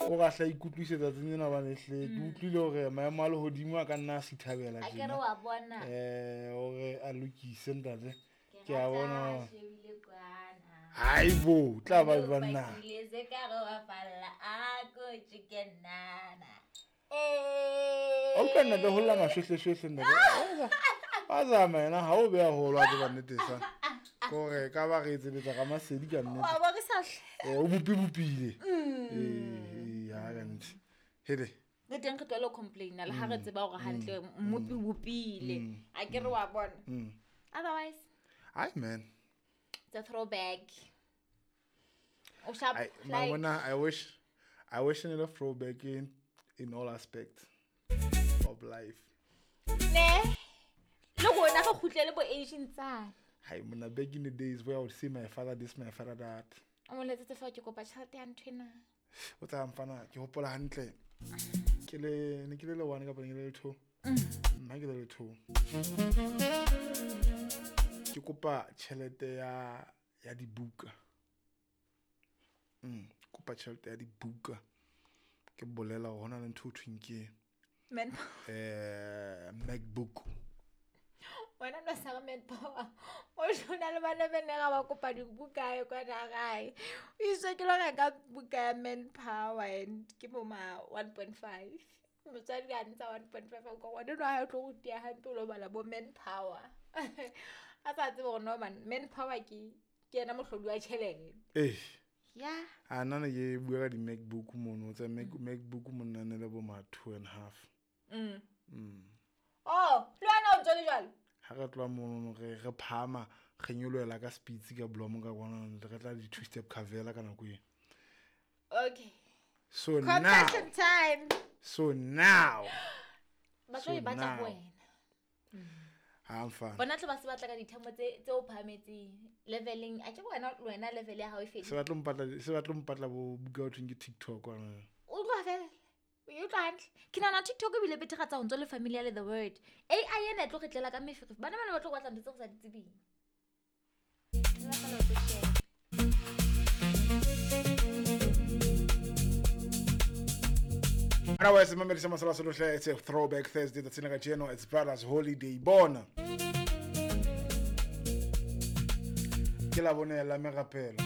O ga hla ikutlwise tsatsing lena hobane hle ke utlwile hore maemo a lehodimo a ka nna a sithabela A ke re tjena. wa bona. Hore a lokise ntate. Ke Ke a rata bona. ha shebile kwana. Haibo, tla ba O banna. pakile se ka re wa falla, a ko tjike nnana. Eh. O utlwa ntate ho lla mashwehleshwehle ntate. Wa zama yena ha o beha holo wa tseba nnete sa. Kore ka ba re etsebetsa ka masedi ka nnete. Wa bo re sa hle. O bopibopile. Ee, ha ka nnete. Hele. Le teng re tlohele ho complaina le ha re tseba hore hantle mmopi o bopile. A ke re wa bona. Otherwise, Ai man. it's a throwback. O sharp I like mabona I wish ne le throwback in all aspects of life. Ne. Le rona re kgutlele bo Asian tsane. Hai mona, back in the days where I would see my father this, my father that. O mo letsetse fa ke kopa tjhelete ya nthwena. O tsa mfana ke hopola hantle. Ke le ne ke le le one kapa ne ke le le two. Nna ke le le two. Ke kopa tjhelete ya dibuka. Kopa tjhelete ya dibuka. Ke bolela hore hona le ntho ho thweng ke Man. MacBook. Wena no sa re manpower. O shona le bana ba ne ga ba kopa dibuka e kwana gae. O iswe ke lo reka buka ya manpower and ke bo ma 1.5. Motswadi a ntsha 1.5 a kwa ngwana enwa ha o tlo go tia hampe o lo bala bo manpower. A sa tsebe gore no man manpower ke yena mohlodi wa tjhelete. Eh. Yeah. A nna ne ke bua ka di-MacBook mono tsa MacBook monna ne le bo ma 2.5. Oh, le wena o ntso le jwalo? Ha re tloha mono re phahama re nyolohela ka speeds ka blomo ka kwana re tla di two step cavela ka nako eo. Okay. So now, Confession time. so now Ba tlo So e batla ho now. wena. Ha mfana. Bona tlo ba se batla ka dithemo tse o phahametseng leveling. A ke wena le wena level ya hao e Se fedile. ba tlo mpatla, se ba tlo mpatla bo buka ho thweng ke TikTok kwana. O utlwa fela. O e utlwa hantle. Ke nahana TikTok ebile betheratsa ho ntso le familiar le the word. AI ena e tlo re tlela ka meferefe. Bana bana ba tlo batla ntho tse re sa di tsebeng. Re bapala ho tlo sheba. Otherwise, mamedi sa masala solo hle, it's a throwback Thursday tsatsing la kajeno, it's Brothers Holiday. Bona. Ke la bone la merapelo.